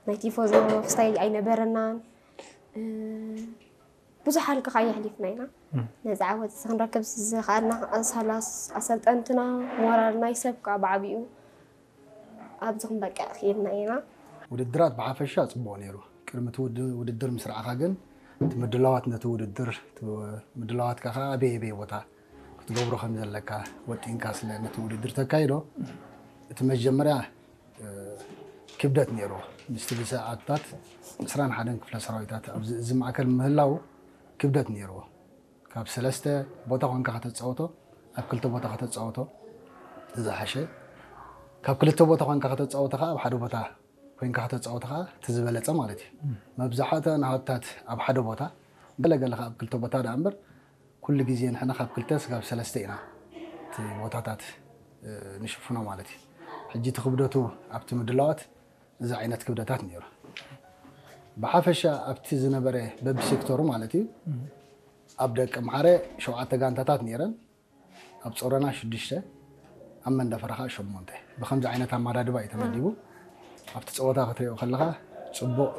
ናይ ቲፎዞ ክስታይ ኣይነበረናን። ብዙሕ ሃልኪ ከኣ የሕሊፍና ኢና። ነዚ ዓወት እዚ ክንረክብ ዝኸኣልና ሳላ ኣሰልጠንትና ሞራል ናይ ሰብ ከኣ ብዓቢኡ ኣብዚ ክንበቅዕ ክኢልና ኢና። ውድድራት ብሓፈሻ ጽቡቕ ነይሩ። ቅድሚ እቲ ውድድር ምስራዕኻ ግን እቲ ምድላዋት ነቲ ውድድር ምድላዋትካ ከዓ ኣበይ ኣበይ ቦታ ክትገብሮ ከም ዘለካ ወጢንካ ስለ ነቲ ውድድር ተካይዶ እቲ መጀመርያ ክብደት ነይርዎ። ምስቲ ብሰዓታት ዕስራን ሓደን ክፍለ ሰራዊታት ኣብዚ እዚ ማእከል ምህላው ክብደት ነይርዎ። ካብ ሰለስተ ቦታ ኮንካ ከተፃወቶ ኣብ ክልተ ቦታ ከተፃወቶ ዝሓሸ፣ ካብ ክልተ ቦታ ኮንካ ከተፃወቶ ከዓ ኣብ ሓደ ቦታ ኮይንካ ከተፃወቶ ከዓ እቲ ዝበለፀ ማለት እዩ። መብዛሕትኣን ሃብታት ኣብ ሓደ ቦታ ገለገለ ከዓ ኣብ ክልተ ቦታ ደኣ እምበር ኩሉ ግዜ ንሕና ካብ ክልተ ስጋብ ሰለስተ ኢና እቲ ቦታታት ንሽፍኖ ማለት እዩ። ሕጂ እቲ ክብደቱ ኣብቲ ምድላዋት እዚ ዓይነት ክብደታት ነይሩ። ብሓፈሻ ኣብቲ ዝነበረ በቢ ሴክተሩ ማለት እዩ ኣብ ደቂ ኣምሓረ ሸውዓተ ጋንታታት ነይረን፣ ኣብ ጾረና ሽዱሽተ፣ ኣብ መንደፈራ ከዓ ሸሞንተ። ብከምዚ ዓይነት ኣመዳድባ እዩ ተመዲቡ። ኣብቲ ፀወታ ክትሪኦ ከለካ ፅቡቕ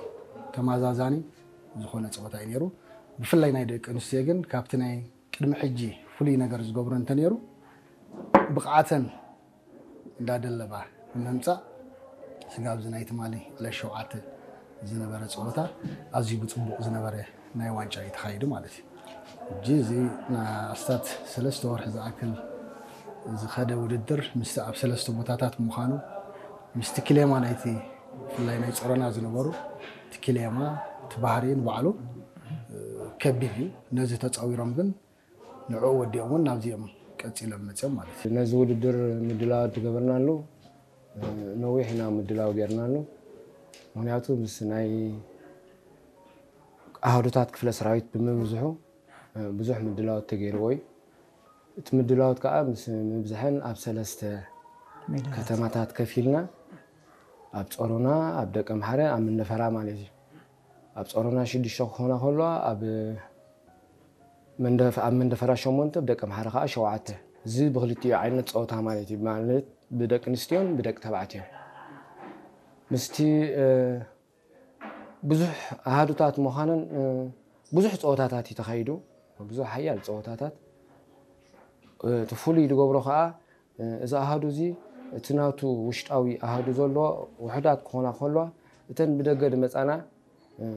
ተመዛዛኒ ዝኾነ ፀወታ እዩ ነይሩ። ብፍላይ ናይ ደቂ ኣንስትዮ ግን ካብቲ ናይ ቅድሚ ሕጂ ፍሉይ ነገር ዝገብሮ እንተነይሩ ብቕዓተን እንዳደለባ ብምምፃእ ስጋብ እዚ ናይ ትማሊ ዕለት ሸውዓተ ዝነበረ ፀወታ ኣዝዩ ብፅቡቕ ዝነበረ ናይ ዋንጫ እዩ ተኻይዱ ማለት እዩ። ሕጂ እዚ ንኣስታት ሰለስተ ወርሒ ዝኣክል ዝኸደ ውድድር ምስቲ ኣብ ሰለስተ ቦታታት ምዃኑ ምስቲ ክሌማ ናይቲ ብፍላይ ናይ ጾረና ዝነበሩ እቲ ክሌማ እቲ ባህሪ ንባዕሉ ከቢድ እዩ። ነዚ ተፃዊሮም ግን ንዕኡ ወዲኦም እውን ናብዚኦም ቀፂሎም መፅኦም ማለት እዩ። ነዚ ውድድር ምድላው ዝገበርናሉ ነዊሕ ኢና ምድላው ጌርናሉ። ምክንያቱ ምስ ናይ ኣሃዱታት ክፍለ ሰራዊት ብምብዝሑ ብዙሕ ምድላው ተገይርዎ እዩ። እቲ ምድላዋት ከዓ ምስ ምብዝሐን ኣብ ሰለስተ ከተማታት ከፊልና ኣብ ጾሮና፣ ኣብ ደቀምሓረ፣ ኣብ መንደፈራ ማለት እዩ። ኣብ ጾሮና ሽዱሽተ ክኾና ከለዋ ኣብ መንደፍ ኣብ መንደፈራ ሸሞንተ ብደቂ ኣምሓራ ከዓ ሸውዓተ። እዚ ብክልቲኡ ዓይነት ፀወታ ማለት እዩ፣ ማለት ብደቂ ኣንስትዮን ብደቂ ተባዕትዮን። ምስቲ ብዙሕ ኣሃዱታት ምዃነን ብዙሕ ፀወታታት እዩ ተኻይዱ። ብዙሕ ሓያል ፀወታታት እቲ ፍሉይ ዝገብሮ ከዓ እዚ ኣሃዱ እዚ እቲ ናቱ ውሽጣዊ ኣሃዱ ዘለዎ ውሑዳት ክኾና ከለዋ እተን ብደገ ዝመፃና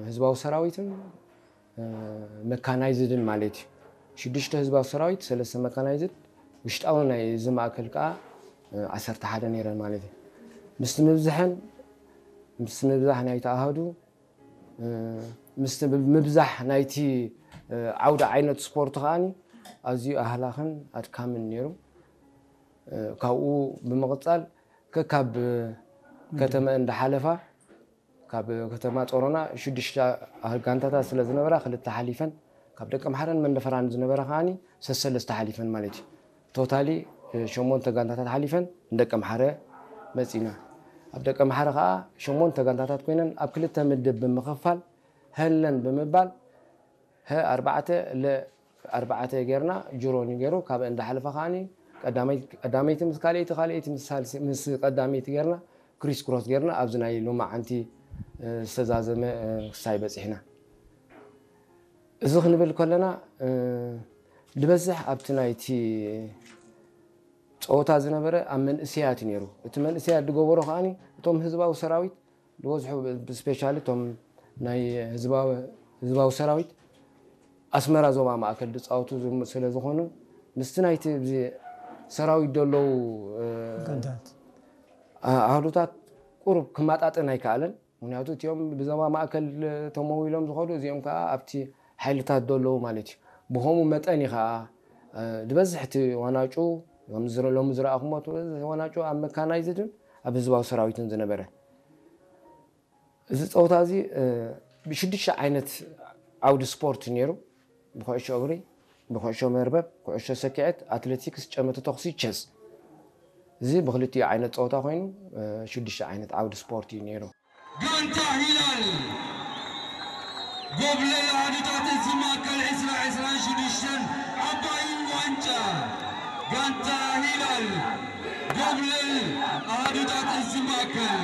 ህዝባዊ ሰራዊትን መካናይዝድን ማለት እዩ። ሽዱሽተ ህዝባዊ ሰራዊት፣ ሰለስተ መካናይዝድ፣ ውሽጣዊ ናይ እዚ ማእከል ከዓ ዓሰርተ ሓደ ነይረን ማለት እዩ። ምስቲ ምብዝሐን ምስቲ ምብዛሕ ናይቲ ኣሃዱ ምስቲ ምብዛሕ ናይቲ ዓውዲ ዓይነት ስፖርት ከዓኒ ኣዝዩ ኣህላኽን ኣድካምን ነይሩ። ካብኡ ብምቕፃል ከካብ ከተመ እንዳሓለፋ ካብ ከተማ ጾሮና ሽዱሽተ ጋንታታት ስለ ዝነበራ ክልተ ሓሊፈን ካብ ደቂ ኣምሓረን መንደፈራን ዝነበራ ከዓኒ ሰሰለስተ ሓሊፈን ማለት እዩ። ቶታሊ ሸሞንተ ጋንታታት ሓሊፈን ንደቂ ኣምሓረ መፂና። ኣብ ደቂ ኣምሓረ ከዓ ሸሞንተ ጋንታታት ኮይነን ኣብ ክልተ ምድብ ብምኽፋል ሀለን ብምባል ሀ ኣርባዕተ ለ ኣርባዕተ ጌርና ጅሮኒ ገይሩ ካብ እንዳሓለፈ ከዓኒ ቀዳመይቲ ምስ ካልኣይቲ ካልኣይቲ ምስ ቀዳመይቲ ጌርና ክሪስ ክሮስ ጌርና ኣብዚ ናይ ሎማዓንቲ ዝተዛዘመ ክሳይ በፂሕና። እዚ ክንብል ከለና ዝበዝሕ ኣብቲ ናይቲ ፀወታ ዝነበረ ኣብ መንእሰያት ነይሩ። እቲ መንእሰያት ዝገበሮ ከዓኒ እቶም ህዝባዊ ሰራዊት ዝበዝሑ ብስፔሻሊ እቶም ናይ ህዝባዊ ሰራዊት ኣስመራ ዞባ ማእከል ዝፃወቱ ስለ ዝኾኑ ምስቲ ናይቲ ሰራዊት ዘለዉ ኣሃዱታት ቁሩብ ክመጣጠን ኣይከኣለን። ምክንያቱ እቲኦም ብዞባ ማእከል ተመዊሎም ዝኸዱ እዚኦም ከዓ ኣብቲ ሓይልታት ዘለዉ ማለት እዩ። ብኸምኡ መጠን እዩ ከዓ ዝበዝሕ እቲ ዋናጩ ሎሚ ዝረኣኹሞ ወናጩ ኣብ መካናይዝድን ኣብ ህዝባዊ ሰራዊትን ዝነበረ። እዚ ፀወታ እዚ ብሽዱሽተ ዓይነት ዓውዲ ስፖርት ነይሩ። ብኩዕሾ እግሪ፣ ብኩዕሾ መርበብ፣ ኩዕሾ ሰኪዐት፣ ኣትሌቲክስ፣ ጨመተ ተኹሲ፣ ቸስ። እዚ ብክልቲኡ ዓይነት ፀወታ ኮይኑ ሽዱሽተ ዓይነት ዓውዲ ስፖርት እዩ ነይሩ። ጋንታ ሂላል ጎብለል ኣሃዱታት እዚ ማእከል ዕስራ ዕስራን ሽዱሽተን ዓባይ ዋንጫ ጋንታ ሂላል ጎብለል ኣሃዱታት እዚ ማእከል